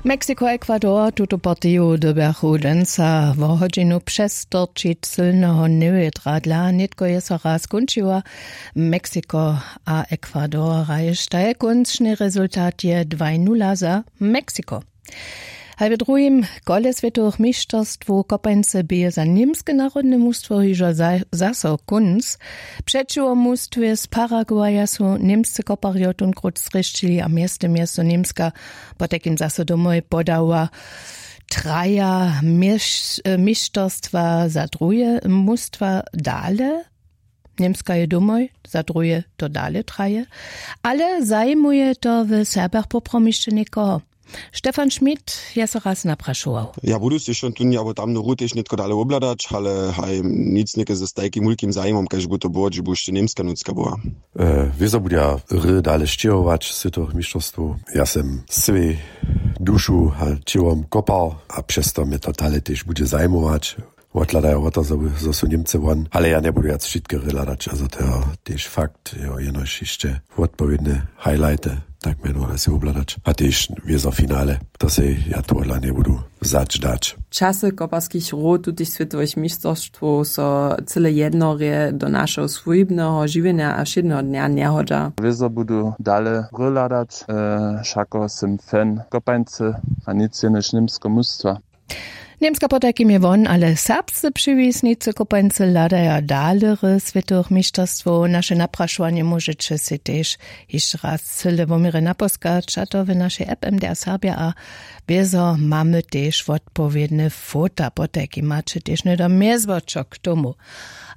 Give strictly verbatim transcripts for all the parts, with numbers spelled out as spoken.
Mexiko a Ekwador tutu partiju dyrbjachu dźensa wo hodźinu přestorčić sylneho newětra dla nětko je so raz kónčiła. Mexiko a Ekwador hraještaj kónčny rezultat je dwaj nula za Mexiko. Haj w druhim kole swětowych mišćerstwow kopańce bě za němske narodne mustwo hižo zaso kónc. Přećiwo mustwje z Paraguaja su němsce koparjo tónkrót zrěšćili a mjeztym je so němska potajkim zaso domoj podała. Traja mišćerstwa za druhe mustwa dale. Němska je domoj za druhe to dale traje. Ale zajimuje to w serbjach poprawom hišće někoho. Stefan Schmidt je so raz naprašował. Ja budu sej šon tón abo tamny rutež nětko dale wobhladać, ale haj, nic něke z tajkim wulkim zajimom kaž bu to było dźe bu hišće němska nutřka była. Wězo budja hry dale sćěhować z tych mišćerstwow. Ja sem swěj dušu a ćěłom kopał a přez to mje to dale tež budźe zajimować. Wothladajo wo to zo su němce won ale ja njebudu wjac wšitke hry hladać a zo to jo tež fakt jo jenož hišće wotpowědne highlighty tak mjenowale sej wobhladać a tež wězo finale. To sej ja tohodla njebudu wzać dać. Časy koparskich hrow tutych swětowych mišćerstwow so cyle jednorje do našeho swójbneho žiwjenja a wšědneho dnja njehodźa. Wězo budu dale hry hladać. Wšako sym fan kopańcy a nic jenož němskeho mustwa. Němska potajkim je won ale serbscy přiwisnicy kopańcy hladaja dalery swětowych mišćerstwow naše naprašowanje móžeće sej tež hišće raz cyle woměrje napóskać a to w našej app mdr serbja a bězo mamy tež wotpowědne fota potajkim maće tež hnydom mjezwočo k tomu.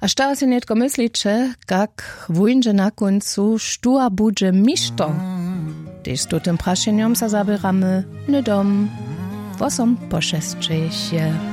A što sej nětko mysliće kak wóńdźe na kóncu štó a budźe mišto? Tež z tutym prašenjom so zaběramy hnydom wosom po šesćich je.